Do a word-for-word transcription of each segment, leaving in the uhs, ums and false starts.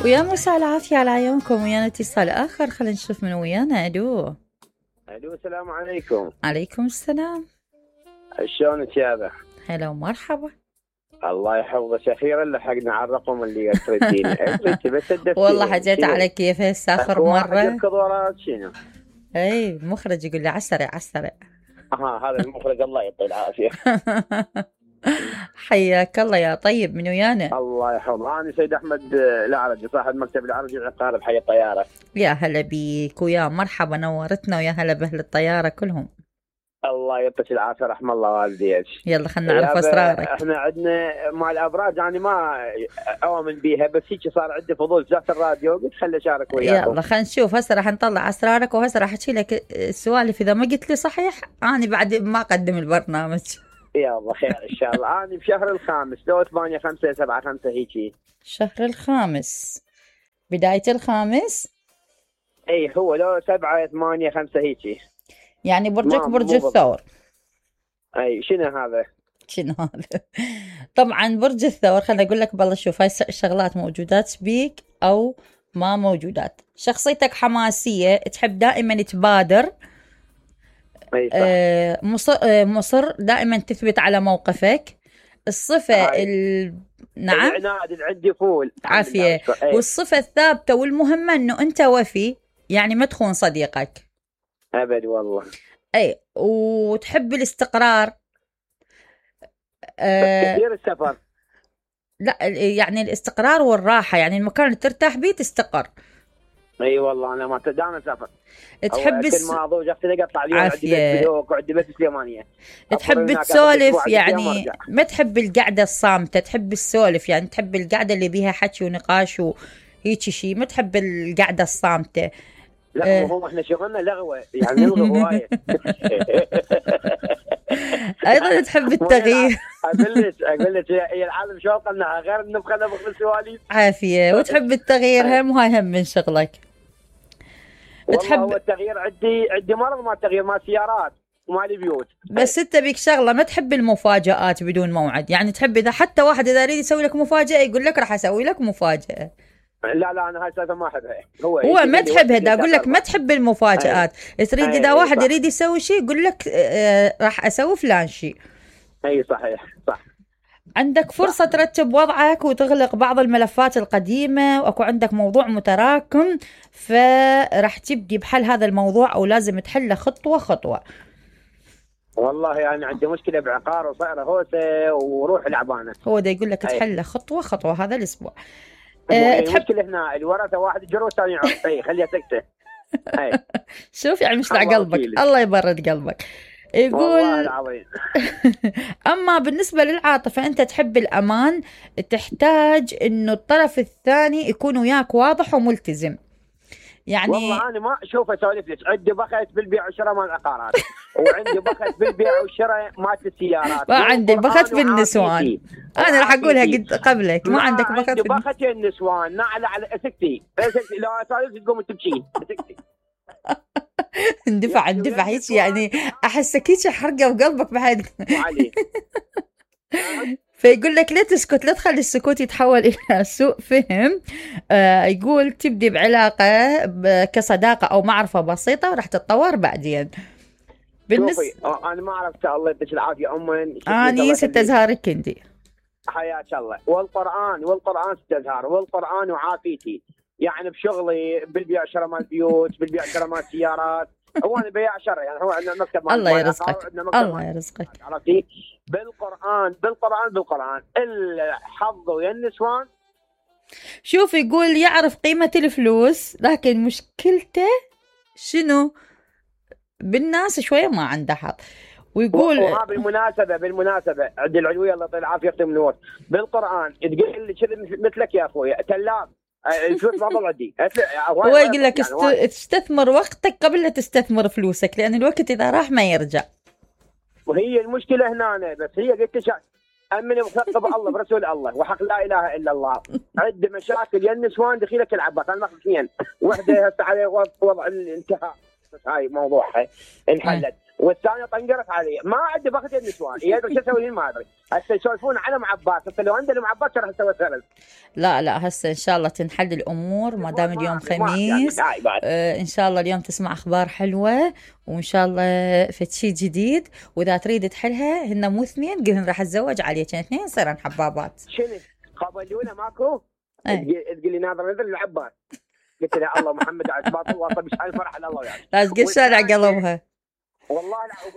ويا مساء العافية على عيونكم. ويانا اتصال آخر، خلينا نشوف من ويانا. ألو ألو السلام عليكم. عليكم السلام. شلونك يابا؟ هلا ومرحبا. الله يحفظك. أخيرا لحقنا على الرقم اللي تردينه. بس والله حجيت على كيف هسه آخر مرة. الكضورات شنو؟ اي المخرج يقول لي عسرع عسرع. اه هذا المخرج الله يعطيه العافية. حياك الله يا طيب. من ويانا؟ الله يحفظه. أنا سيد أحمد العرجي صاحب مكتب العرجي العقارب حي الطيارة. يا هلا بيك ويا مرحبا، نورتنا ويا هلا بأهل الطيارة كلهم. الله يعطيك العافية، رحم الله والديك. يلا خلنا نعرف أسرارك. احنا عندنا مع الأبراج يعني ما أؤمن بيها، بس هيك صار عندي فضول فتحت الراديو قلت خلي أشارك وياكم. يلا خلينا نشوف. هسه راح نطلع أسرارك وهسه راح أحكي لك السوالف. إذا ما قلت لي صحيح أنا بعد ما أقدم البرنامج. يلا خير ان شاء الله. انا بشهر الخامس لو ثمانية خمسة سبعة خمسة هيجي. شهر الخامس بداية الخامس. اي هو لو سبعة ثمانية خمسة هيجي. يعني برجك برج الثور. اي شنو هذا؟ شنو هذا؟ طبعا برج الثور خليني اقول لك بالله. شوف هاي الشغلات موجودات بيك او ما موجودات. شخصيتك حماسية، تحب دائما تبادر. أي آه مصر, آه مصر دائما تثبت على موقفك. الصفة ال... نعم العناد اللي عندي فول عافية. والصفة الثابتة والمهمة انه انت وفي، يعني ما تخون صديقك ابد والله. اي وتحب الاستقرار. آه كثير السفر. لا يعني الاستقرار والراحة، يعني المكان اللي ترتاح بيه تستقر. اي أيوة والله انا ما دائما سافر. تحب الس... ما اضوج اقطع اليوم عندي بيت بلوك وعندي بيت سليمانية. تحب تسولف يعني ما تحب القعدة الصامتة، تحب السولف يعني تحب القعدة اللي بيها حكي ونقاش وهيك شيء، ما تحب القعدة الصامتة. لا هو احنا شغلنا لغوة يعني نلغي هواية. ايضا تحب التغيير. اقول لك اقول لك هي العالم شو قلنا غير نبغى نبغى السواليف. عافية. وتحب التغيير هم وهاي هم من شغلك. تحب هو التغيير. عندي عندي مرض ما التغيير ما سيارات وما لي بيوت. بس انت بيك شغله ما تحب المفاجآت بدون موعد، يعني تحب اذا حتى واحد اذا يريد يسوي لك مفاجأة يقول لك راح اسوي لك مفاجأة. لا لا انا هاي السالفه ما احبها. هو هو ما تحبها. دا اقول لك ما تحب المفاجآت. أي. تريد اذا واحد صح. يريد يسوي شيء يقول لك آه راح اسوي فلان شيء. اي صحيح صح. عندك فرصة صح. ترتب وضعك وتغلق بعض الملفات القديمة، واكو عندك موضوع متراكم فراح تبدي بحل هذا الموضوع او لازم تحله خطوة خطوة. والله يعني عندي مشكلة بعقار وصايرة هوسة وروح العبانة. هو ده يقول لك تحله خطوة خطوة هذا الاسبوع. أه تحب المشكلة هنا الورثة واحد يجر والثاني يعرف. اي خليها سكتة. اي شوف يعني مش قلبك. الله يبرد قلبك. يقول والله العظيم. اما بالنسبة للعاطفة انت تحب الامان، تحتاج انه الطرف الثاني يكون وياك واضح وملتزم. يعني والله انا ما اشوف اسولف لك. عندي بخت بالبيع والشراء مال العقارات وعندي بخت بالبيع والشراء مال السيارات. ما عندي بخت بالنسوان. انا راح اقولها قد قبلك. ما, ما عندك بخت عندي بخت النسوان. نعل على سكتي سكتي لو اسولف تقوم تبكين سكتي. اندفع اندفع هيك يعني احسك هيك حرقه بقلبك بعد. علي فيقول لك لا تسكت، لا تخلي السكوت يتحول إلى سوء فهم. آه يقول تبدي بعلاقة كصداقة أو معرفة بسيطة وراح تتطور بعدين. بالنسبة شوفي أنا ما عرفت. الله يديك العافية أمن. أنا ست أزهار كندي. حياك الله. والقرآن والقرآن ست أزهار والقرآن وعافيتي يعني بشغلي بالبيع شراء مال بيوت بالبيع شراء مال سيارات. هو أنا بيع شراء يعني هو عندنا مكتب. الله يرزقك الله يرزقك. عرفتي بالقرآن بالقرآن بالقرآن الحظ ويا النسوان. شوف يقول يعرف قيمة الفلوس لكن مشكلته شنو بالناس شوية ما عنده حظ. ويقول وها بالمناسبة بالمناسبة عند العلوية الله يطول العافية يختم النور بالقرآن تقول لي كذا مثلك يا أخوي تلاب الفلوس ما ضل عندي. هو يقول لك يعني استثمر وقتك قبل لا تستثمر فلوسك لأن الوقت إذا راح ما يرجع. وهي المشكلة هنا بس هي قلت شا أمني مثقب الله برسول الله وحق لا إله إلا الله. عد مشاكل يا النسوان دخيلك العباس. أنا ماخذ اثنين. وحدة هسه على وضع الانتهاء بس هاي موضوعها انحلت. والثانيه طنقرت علي. ما عندي بختي النسوان، يدري شو اسوي ما ادري. هسه يسولفون على معبات، هسه لو عندي المعبات راح اسوي ثلج. لا لا هسه ان شاء الله تنحل الامور ما دام اليوم خميس. يعني آه ان شاء الله اليوم تسمع اخبار حلوه، وان شاء الله فد شي جديد، واذا تريد تحلها هن مو اثنين قلهن راح اتزوج عليك اثنين يصيرن حبابات. شنو قابلونا ماكو؟ ايه. تقول لي ناظر نذر العباس. قلت له الله محمد عجبات الله طب ايش فرح على الله يعني. لا تقول شارع قلبها. والله لا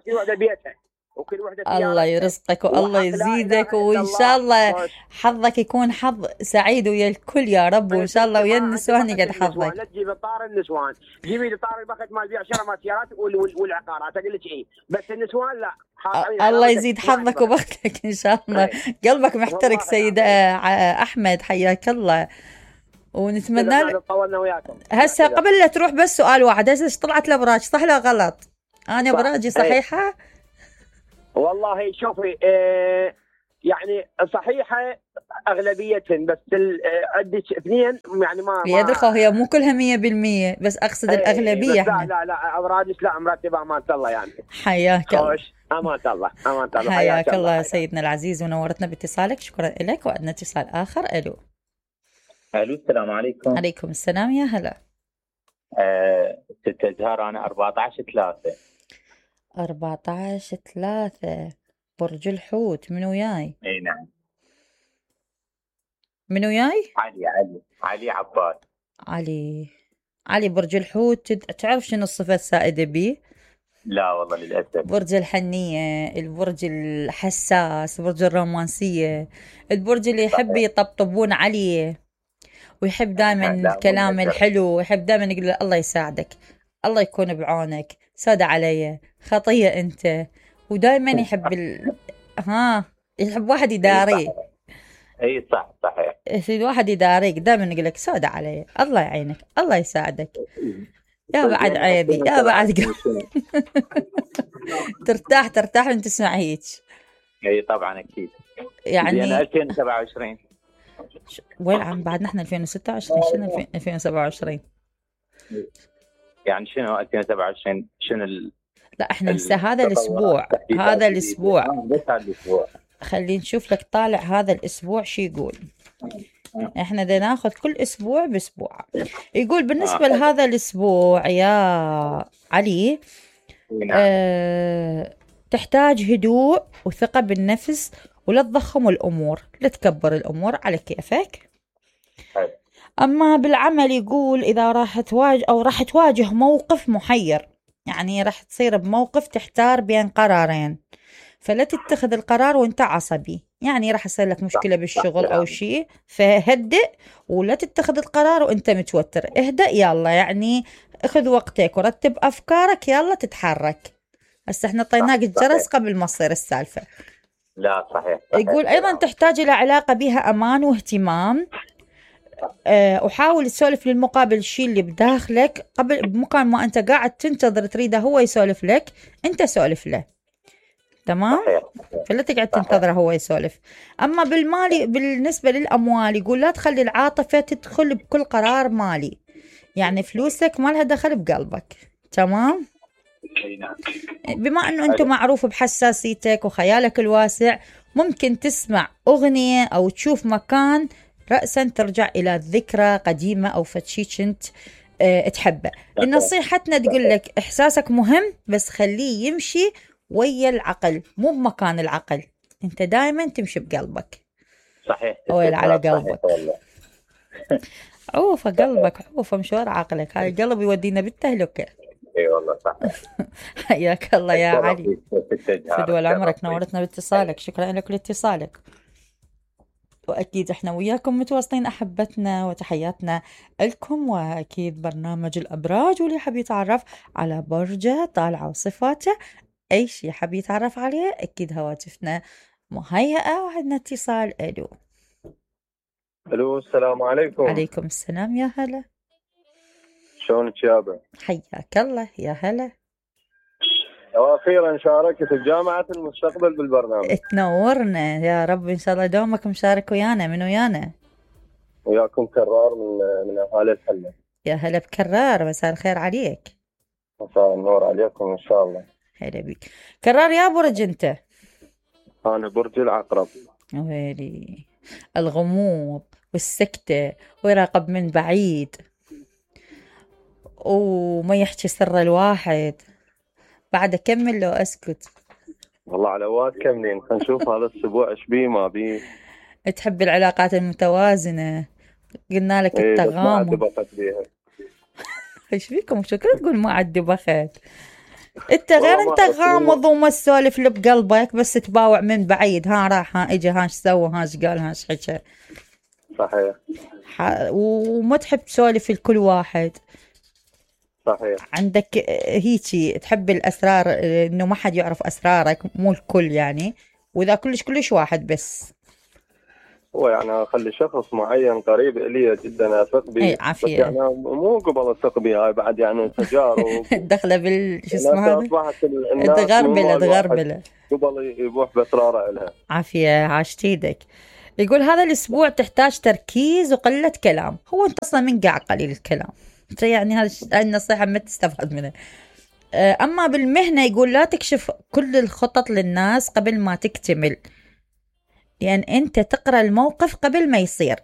في وحده بيتها وكل وحده الله يرزقك والله يزيدك، وان شاء الله حظك يكون حظ سعيد ويا الكل يا رب، وان شاء الله ويا النسوان يقعد حظك. لا تجيب طار النسوان، جيبي لي طار البخت مال بيع شراء سيارات والعقارات اقول لك ايه، بس النسوان لا. الله يزيد حظك وبختك ان شاء الله. قلبك محترق سيد احمد، حياك الله ونتمنى لك. هسه قبل لا تروح بس سؤال واحد، هسه طلعت الابراج صح ولا غلط؟ انا ابراجي صحيحه؟ والله شوفي اه يعني صحيحه اغلبيه، بس عندك اثنين يعني ما يا دخو هي مو كلها مية بالمية، بس اقصد ايه الاغلبيه. لا لا لا ابراجك لا مرتبه امانه الله يعني. حياك الله. امانه الله امانه الله. حياك الله يا سيدنا العزيز ونورتنا باتصالك، شكرا لك. وعندنا اتصال اخر. الو الو السلام عليكم. عليكم السلام يا هلا. أه ست أزهار أنا أربعة عشر ثلاثة. أربعة عشر ثلاثة برج الحوت. منو جاي؟ اي نعم. منو جاي؟ علي علي علي عباد. علي علي برج الحوت. تعرف شنو الصفة السائدة بيه؟ لا والله للأسف. برج الحنية، البرج الحساس، برج الرومانسية، البرج اللي يحب يطبطبون عليه ويحب دائما الكلام الحلو، ويحب دائما يقول له الله يساعدك، الله يكون بعونك، ساد علي خطية انت، ودائما يحب ال... ها يحب واحد يداريه. اي صح صحيح. يصير واحد يداريك دائما يقول لك ساد علي، الله يعينك، الله يساعدك. يا بعد عيبي يا بعد ترتاح ترتاح من تسمع هيك. اي طبعا اكيد. يعني انا ألفين وسبعة وعشرين. وين عم بعد نحن ألفين وستة وعشرين، شنو ألفين وسبعة وعشرين؟ يعني شنو ألفين وسبعة وعشرين شنو ال... لا احنا هسه هذا الاسبوع هذا الاسبوع بس هذا الاسبوع خلينا نشوف لك طالع هذا الاسبوع شو يقول. احنا بدنا ناخذ كل اسبوع باسبوع. يقول بالنسبه آه. لهذا الاسبوع يا علي آه، تحتاج هدوء وثقه بالنفس، ولا تضخم الامور، لا تكبر الامور على كيفك. اما بالعمل يقول اذا راح تواجه او راح تواجه موقف محير، يعني راح تصير بموقف تحتار بين قرارين، فلا تتخذ القرار وانت عصبي، يعني راح يصير لك مشكلة بالشغل أو شيء، فهدئ ولا تتخذ القرار وانت متوتر. اهدأ يلا، يعني اخذ وقتك ورتب أفكارك، يلا تتحرك. هسه احنا طيناك الجرس قبل ما تصير السالفة. لا صحيح, صحيح. يقول أيضا تحتاج إلى علاقة بها أمان واهتمام، أه وحاول تسولف للمقابل الشيء اللي بداخلك قبل، بمكان ما أنت قاعد تنتظر تريده هو يسولف لك، أنت سولف له. تمام؟ فلا تقعد تنتظره هو يسولف. أما بالمالي بالنسبة للأموال يقول لا تخلي العاطفة تدخل بكل قرار مالي، يعني فلوسك ما لها دخل بقلبك. تمام؟ بما أنه أنت معروف بحساسيتك وخيالك الواسع، ممكن تسمع أغنية أو تشوف مكان رأسا ترجع إلى ذكرى قديمة أو فتشي كنت أه تحبه. نصيحتنا تقول لك إحساسك مهم، بس خليه يمشي ويا العقل مو بمكان العقل، انت دائما تمشي بقلبك. صحيح. ويل على قلبك. عوفة قلبك عوفة مشوار عقلك، هاي القلب يودينا بالتهلكة. اي والله صح. حياك الله يا علي، فدوى عمرك، نورتنا باتصالك، شكرا لك لاتصالك. وأكيد إحنا وياكم متواصلين أحبتنا، وتحياتنا لكم. وأكيد برنامج الأبراج، واللي حب يتعرف على برجه طالعة وصفاته، أي شيء حب يتعرف عليه، أكيد هواتفنا مهيئة. وعندنا اتصال. ألو ألو السلام عليكم. عليكم السلام يا هلا. شلونك يابا؟ حياك الله يا هلا. وأخيرا شاركت في جامعة المستقبل بالبرنامج. تنورنا يا رب، إن شاء الله دومك مشارك ويانا. من ويانا؟ وياكم كرار من من أهالي الحلة. يا هلا بكرار، مساء الخير عليك. مساء النور عليكم إن شاء الله. هلا بيك. كرار يا برج أنت؟ أنا برج العقرب. ويلي الغموض والسكتة ويراقب من بعيد وما يحكي سر الواحد. بعد أكمل لو أسكت؟ والله على واد كملين، نشوف هذا الأسبوع إيش بيه ما بيه. تحب العلاقات المتوازنة، قلنا لك إيه التغامض. بس ما عاد بيها. ايش فيكم شو كنت تقول ما عاد بخت؟ انت غير والله ما انت أعرف. غامض وما تسولف اللي بقلبك، بس تباوع من بعيد، ها راح ها اجى ها ايش سوى ها ايش قال ها ايش حكى. صحيح. ح... وما تحب تسولف لكل واحد. صحيح. عندك هيجي تحب الاسرار، انه ما حد يعرف اسرارك، مو الكل يعني، واذا كلش كلش واحد بس. هو يعني اخلي شخص معين قريب الي جدا اثق به. اي عافيه. بس يعني مو قبل اثق به، هاي بعد يعني تجارب. دخله بال شو اسمه هذا؟ اصبحت الناس تغربله تغربله قبل يبوح باسراره لها. عافيه عاشت ايدك. يقول هذا الاسبوع تحتاج تركيز وقله كلام. هو انت اصلا من قاع قليل الكلام، يعني هذا النصيحه ما تستفاد منها. اما بالمهنه يقول لا تكشف كل الخطط للناس قبل ما تكتمل، لأن يعني أنت تقرأ الموقف قبل ما يصير،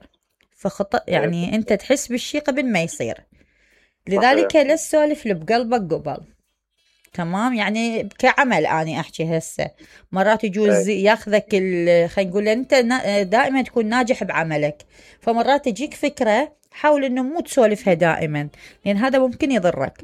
فخطأ يعني أنت تحس بالشي قبل ما يصير، لذلك لا تسولف اللي بقلبك قبل. تمام؟ يعني كعمل أنا أحكي هسه، مرات يجوز ياخذك خلينا نقول أنت دائما تكون ناجح بعملك، فمرات تجيك فكرة حاول إنه مو تسولفها دائما، لأن هذا ممكن يضرك.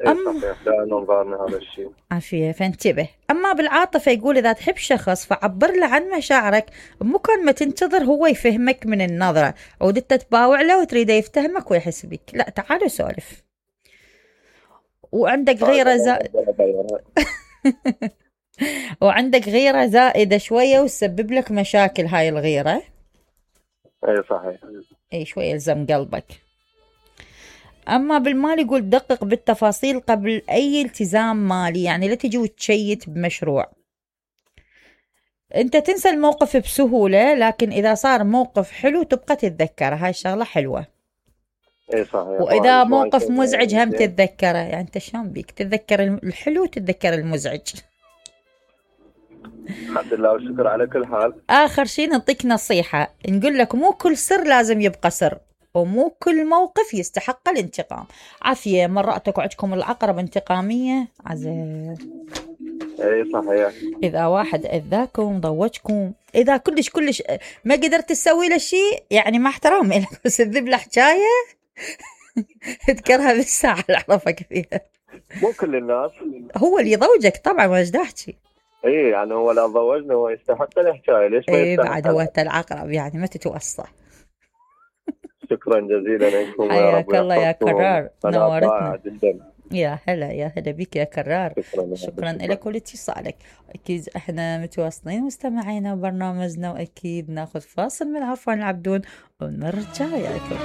أم... صحيح، لا ننظرنا هذا الشيء. عافية، فانتبه. أما بالعاطفة يقول إذا تحب شخص فعبر له عن مشاعرك، مو كان ما تنتظر هو يفهمك من النظرة ودت تباوع له وتريده يفتهمك ويحس بك. لا تعالوا سولف. وعندك غيرة زائدة وعندك غيرة زائدة شوية وتسبب لك مشاكل هاي الغيرة. أي صحيح. أي شوية يلزم قلبك. أما بالمال يقول دقق بالتفاصيل قبل أي التزام مالي، يعني لا تجي وتشيت بمشروع. أنت تنسى الموقف بسهولة، لكن إذا صار موقف حلو تبقى تتذكره، هاي الشغلة حلوة. إيه صحيح. وإذا موقف مزعج هم تتذكره، يعني أنت شلون بيك تتذكر الحلو وتتذكر المزعج. الحمد لله والشكر على كل حال. آخر شيء نعطيك نصيحة، نقول لك مو كل سر لازم يبقى سر، ومو كل موقف يستحق الانتقام. عافية. مراتك وعدكم العقرب انتقامية عزيز. اي صحيح. إذا واحد أذاكم ضوجكم، إذا كلش كلش ما قدرت تسوي له شيء، يعني مع احترامي لك بس تذب له حكاية اذكرها بالساعة اللي أعرفك فيها. مو كل الناس. هو اللي يضوجك طبعا، ما ايش احكي. اي يعني هو لو ضوجنا هو يستحق الحكاية، ليش ما اي يستحق؟ بعد هو العقرب يعني ما تتوصى. شكرا جزيلا لكم. حياك الله يا كرار، نورتنا. جدا. يا هلا يا هلا بك يا كرار. شكرا, شكرا لك ولاتصالك. اكيد احنا متواصلين مستمعينا برنامجنا، واكيد ناخذ فاصل من عفوا العبدون ونرجع وياكم.